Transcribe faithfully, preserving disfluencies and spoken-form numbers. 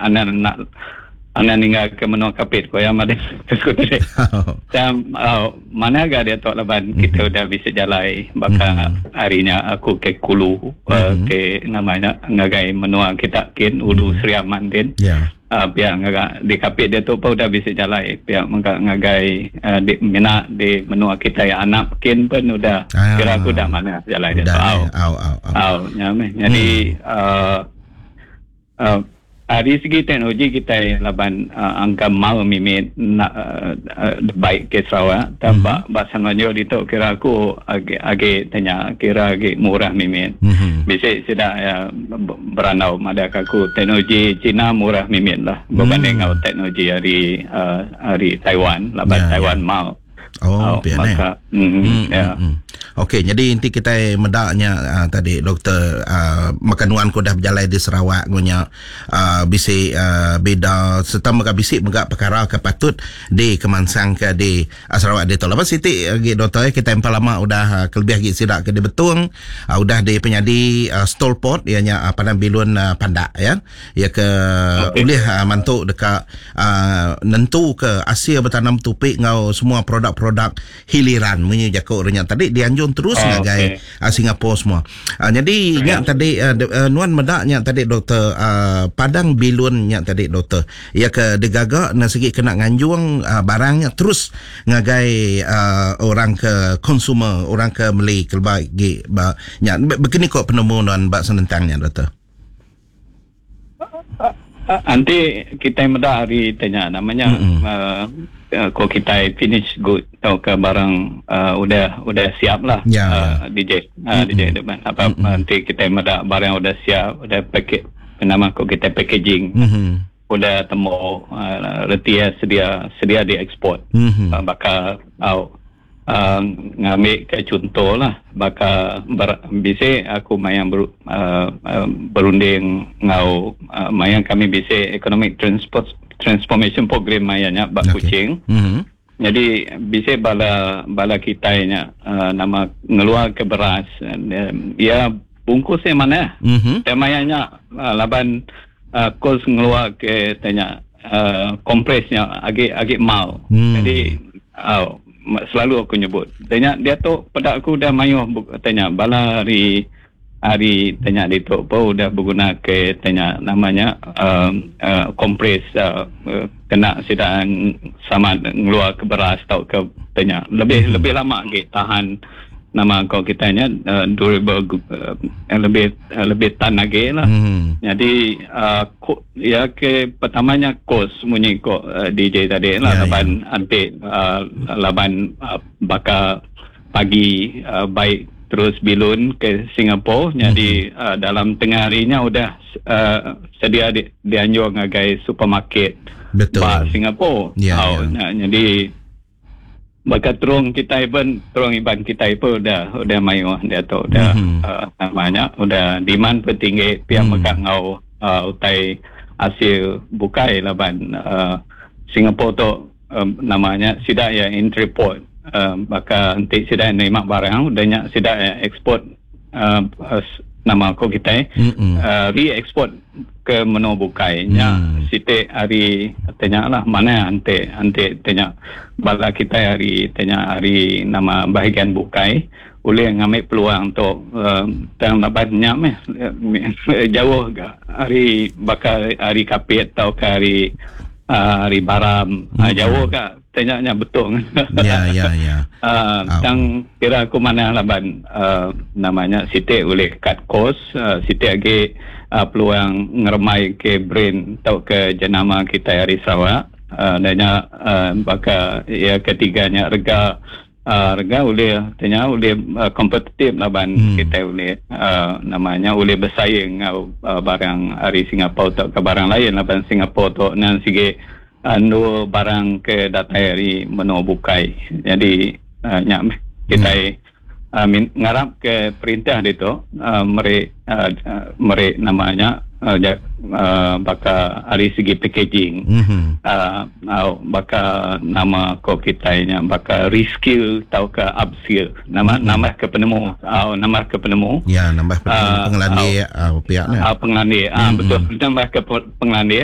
Anak nak anak ninggal ke menua Kapit ko ya madah aku tadi. Dan uh, mana ga dia tu laban kita udah bisa jalai baka harinya aku ke Kulu uh, ke namanya ngagai menua kita kin Ulu Sri Aman din. Ya. Uh, pihak ngaga di Kapit dia tu pun udah bisa jalai pihak mengga ngagai uh, di mina di menua kita yang anak kin pun udah Ah. kira aku dah mana jalai dia Udah. tu. Au. Eh. Au au au. Au, ya meh. Jadi uh, uh, dari segi teknologi kita laban uh, angka mau mimit nak uh, uh, baik ke Sarawak tambah mm-hmm. bahasa Melayu itu kira aku agi agi tanya kira agi murah mimit. Mhm. Bisa sudah ya beranau pada aku teknologi Cina murah mimit lah berbanding dengan teknologi dari uh, dari Taiwan laban Ya, ya. Taiwan mau. Oh, pian eh. Maka mm, Hmm, ya. hmm, hmm. Okey, jadi inti kita medaknya uh, tadi doktor uh, makanuan ku dah berjalan di Sarawak ngunya uh, bisi uh, beda serta mega bisi mega perkara ke patut di kemansang ke di uh, Sarawak di tu. Lepas siti lagi doktor eh, kita empat lama udah uh, kelebih lagi sidak ke di Betung uh, udah di penyadi uh, STOLport ianya uh, Padang Bilun uh, Pandak ya. Ya ke Okey. ulih uh, mantu dekat uh, nentu ke Asia bertanam tupik ngau semua produk-produk hiliran munyi jakuk renya tadi dianjung terus Oh, ngagai okey. uh, Singapura semua. Uh, jadi nyak tadi uh, de, uh, nuan medak nyak tadi doktor uh, Padang Bilun nyak tadi doktor. Ya ke digagak na segi kena nganjung uh, barangnya terus ngagai uh, orang ke consumer, orang ke beli ke bagi ba nyak begini kok penemu nuan bak senentangnya doktor. Uh, nanti kita medak hari tanya namanya Mm-mm. uh, uh, kalau kita finish good atau ke barang uh, udah udah siap lah Ya, uh, D J uh, D J depan apa Mm-mm. nanti kita medak barang udah siap udah package nama kok kita packaging Mhm. udah temu uh, reti ya sedia sedia diekspor Mhm. uh, bakal au uh, ngambil ke contoh lah bakal ber, bisa aku mayang ber, uh, uh, berunding ngau uh, mayang kami bisa economic transport transformation program mayangnya bak Okey. Kuching. Mhm. Jadi bisa bala bala kita nya uh, nama ngeluar ke beras uh, ya bungkusnya mana Mhm. Temayanya uh, laban uh, kos ngeluar ke tanya uh, kompresnya agak agak mau. Hmm. Jadi uh, selalu aku nyebut. Tanya dia tu pada aku dah mayuh bu- tanya bala hari hari tanya dia tu apa udah berguna ke tanya namanya um, uh, kompres uh, uh, kena sedang sama ngeluar ke beras atau ke tanya lebih hmm. lebih lama lagi tahan nama kau kita nya uh, durable uh, lebih uh, lebih tan lagi lah. Mhm. Jadi uh, ko, ya ke pertamanya kos munyi ko uh, D J tadi lah Ya, laban anti uh, laban uh, bakal pagi uh, baik terus bilun ke Singapura. Jadi Mhm. uh, dalam tengah harinya udah uh, sedia di, dianjur ngagai supermarket Betul. ba Singapura. Ya, Oh, ya. nah, jadi Baka terung kita pun terung iban kita pun udah udah mayu dia tu udah Mhm. uh, namanya udah demand pun tinggi pihak Hmm. mm. mekak ngau uh, utai hasil bukai laban uh, Singapura tu um, namanya sidak ya entry port uh, baka nanti sidak nerima barang udah nyak sidak ya ekspor uh, uh, nama aku kita Mhm. uh, re-export ke menua bukai nya Hmm. siti hari tanya lah mana ante ante tanya bala kita hari tanya hari nama bahagian bukai boleh ngambil peluang untuk uh, tang laban nya meh jauh ga hari bakal hari Kapit atau ke hari uh, hari Baram hmm. uh, jauh ga tanya nya betul. Ya ya ya. Uh, Ah. tang kira aku mana laban uh, namanya Siti boleh cut cost uh, Siti lagi uh, peluang ngeremai ke brain atau ke jenama kita hari Sarawak uh, danya uh, baka ya ketiganya rega uh, rega boleh tanya boleh uh, kompetitif laban Hmm. hmm. kita boleh uh, namanya boleh bersaing dengan uh, barang hari Singapura atau ke barang lain laban Singapura tu nan sige anu barang ke datai hari menua bukai. Jadi uh, nyak meh kita hmm. uh, min, ngarap ke perintah dia tu uh, mere uh, uh, mere namanya uh, ja, uh, baka hari segi packaging. Mhm. Uh, uh, baka nama ko kita nya baka reskill atau ke upskill nama Hmm. nama ke penemu uh, nama ke penemu Ya nambah Ah, pengelandik uh, pihaknya. Ah, pengelandik. Ah, Mm-mm. betul. Tambah ke pe- pengelandik.